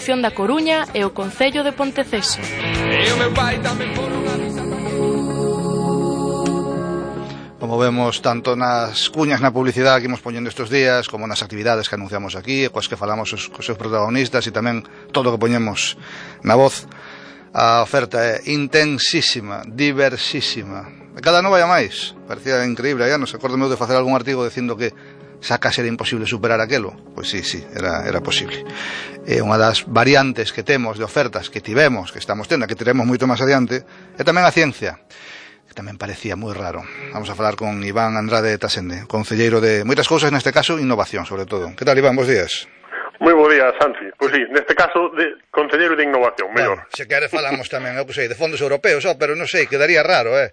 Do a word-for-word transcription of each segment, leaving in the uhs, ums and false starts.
Redacción da Coruña e o Concello de Ponteceso. Como vemos tanto nas cuñas na publicidade que imos poñendo estes días, como nas actividades que anunciamos aquí, coas que falamos os, cos seus protagonistas, e tamén todo o que poñemos na voz, a oferta é intensísima, diversísima. Cada ano vai a máis, parecía increíble. Hai anos, acordo meu de facer algún artigo dicindo que xa case era imposible superar aquelo. Pois sí, sí, era, era posible. É unha das variantes que temos de ofertas que tivemos, que estamos tendo, que teremos moito máis adiante, é tamén a ciencia, que tamén parecía moi raro. Vamos a falar con Iván Andrade Tasende, concelleiro de moitas cousas, neste caso, innovación, sobre todo. Que tal, Iván? Bos días. Moi bo día, Santi. Pois sí, neste caso, de concelleiro de innovación, mellor. Bueno, se quere falamos tamén, eu que sei, de fondos europeos, oh, pero non sei, quedaría raro, eh?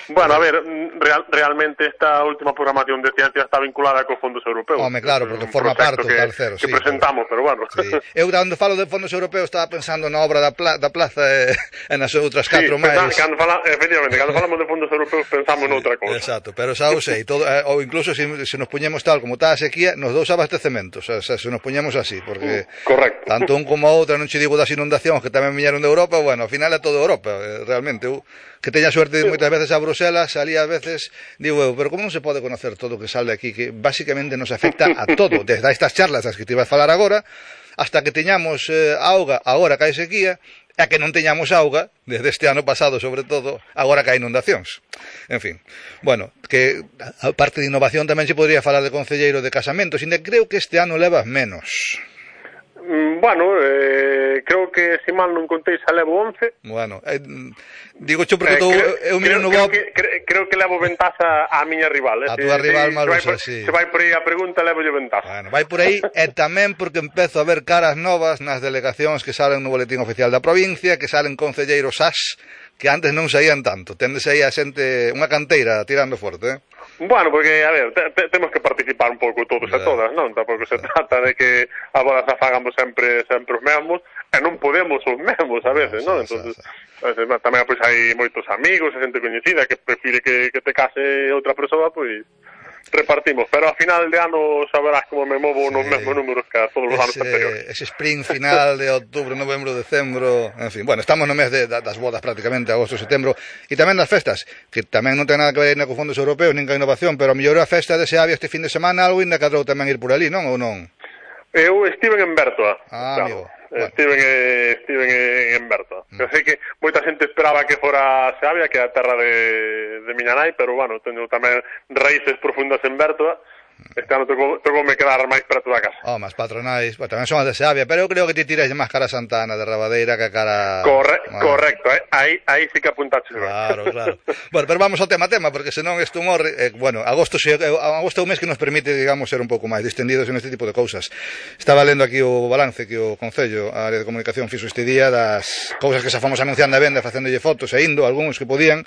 Bueno, a ver, real, realmente esta última programación de ciencia está vinculada cos fondos europeos. Home, claro, porque forma parte do calcero, que sí, presentamos, pero, pero bueno. Sí. Eu, cando falo de fondos europeos, estaba pensando na obra da, pla, da plaza e, e nas outras catro sí, máis. Cando fala, efectivamente, cando falamos de fondos europeos pensamos sí, noutra cousa. Exacto, pero xa o sei, todo, eh, ou incluso se, se nos puñemos tal como está a sequía, nos dous abastecementos, o sea, se nos puñemos así, porque correcto. Tanto un como a outra, non che digo das inundacións que tamén viñeron de Europa, bueno, ao final é todo Europa, eh, realmente. Eu, que teña suerte moitas veces a Bruselas, salía a veces, digo eu, pero como non se pode conocer todo o que sale aquí, que basicamente nos afecta a todo, desde estas charlas as que te iba a falar agora, hasta que teñamos eh, auga, agora que hai sequía, e que non teñamos auga, desde este ano pasado sobre todo, agora que hai inundacións. En fin, bueno, que a parte de innovación tamén se podría falar de concelleiro de casamentos, e creo que este ano levas menos. Bueno, eh, creo que se mal non contei xa levo once. Bueno, eh, digo xo porque eh, tô, creo, eu miro creo, no creo Bob. Que, creo, creo que levo ventaxa á miña rival. A túa rival Maruxa, sí. Se vai por aí a pregunta, levo lle ventaxa. Bueno, vai por aí e tamén porque empezo a ver caras novas nas delegacións que salen no boletín oficial da provincia, que salen concelleiros as que antes non saían tanto. Tendes aí a xente, unha canteira tirando forte, eh? Bueno, porque, a ver, te, te, temos que participar un pouco todos e todas, non? Tampouco se trata de que a bodas a fagamos sempre sempre os mesmos, e non podemos os mesmos a veces, non? Entonces, tamén pois hai moitos amigos, e xente coñecida que prefire que, que te case outra persoa, pois repartimos, pero a final de ano saberás como me movo sí, nos mesmos números que a todos os anos anteriores. Ese sprint final de outubro, novembro, decembro, en fin, bueno, estamos no mes de, das bodas prácticamente, agosto, setembro, e tamén das festas, que tamén non ten nada que ver con fondos europeos, nin con innovación, pero a mellor a festa de Seabia este fin de semana, algo ainda cadrou tamén ir por ali, non? Ou non? Eu estive en Bertoa. Ah, claro. Amigo. Bueno. Estiven, estiven en Bertoa. Mm. Eu sei que moita xente esperaba que fora Seabia, que é a terra de, de miña nai, pero, bueno, teño tamén raíces profundas en Bertoa. Este ano tocou, tocou me quedar máis preto da casa. Oh, mas patronais, bueno, tamén son as de Seabia, pero eu creo que te tiras máis cara a Santana de Rabadeira que a cara... Corre, bueno. Correcto, eh? aí, aí sí que apuntaches. Claro, claro. Bueno, pero vamos ao tema tema, porque senón isto morre, eh, bueno, agosto, se, eh, agosto é un mes que nos permite, digamos, ser un pouco máis distendidos en este tipo de cousas. Estaba lendo aquí o balance que o Concello, a área de comunicación, fixo este día das cousas que xa fomos anunciando a venda, facéndolle fotos e indo, algúns que podían,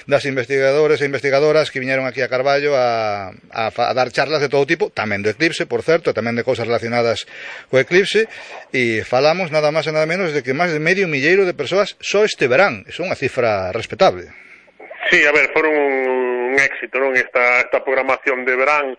das investigadores e investigadoras que viñeron aquí a Carballo a, a, a dar charlas de todo tipo, tamén do eclipse, por certo, tamén de cousas relacionadas co eclipse, e falamos nada máis e nada menos de que máis de medio milleiro de persoas só este verán. É unha cifra respetable. Sí, a ver, foron un, un éxito, non? Esta, esta programación de verán,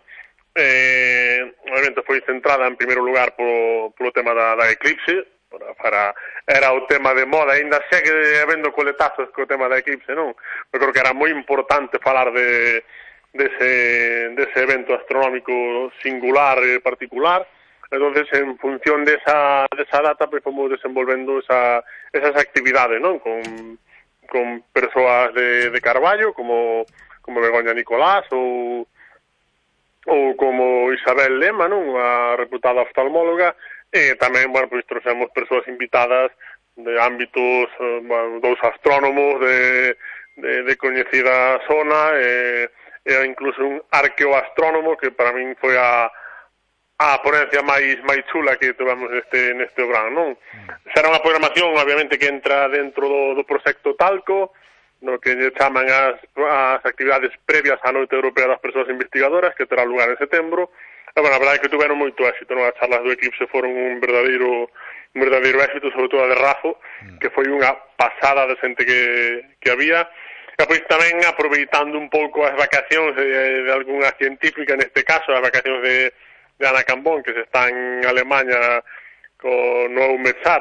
eh, obviamente foi centrada en primeiro lugar polo, polo tema da, da eclipse, para, para, era o tema de moda, ainda segue habendo coletazos co tema da eclipse, non? Eu creo que era moi importante falar de dese, dese evento astronómico singular e particular. Entonces, en función de esa, de esa data, pues fomos desenvolvendo esa, esas actividades, non? Con, con persoas de, de Carballo, como, como Begoña Nicolás ou, ou como Isabel Lema, non? A reputada oftalmóloga, e tamén, bueno, pues trouxemos persoas invitadas de ámbitos, bueno, dous astrónomos de, de, de coñecida zona, e e incluso un arqueoastrónomo que para min foi a, a ponencia máis máis chula que tivemos neste, neste verán, non? Será unha programación, obviamente, que entra dentro do, do proxecto Talco, no que lle chaman as, as actividades previas á Noite Europea das Persoas Investigadoras, que terá lugar en setembro. E, bueno, a verdade é que tuveron moito éxito, non? As charlas do eclipse foron un verdadeiro un verdadeiro éxito, sobre todo a de Rafo, que foi unha pasada de xente que, que había. E pois tamén aproveitando un pouco as vacacións de, de algunha científica, neste caso, as vacacións de, de Ana Cambón, que se está en Alemanha con no EUMETSAT,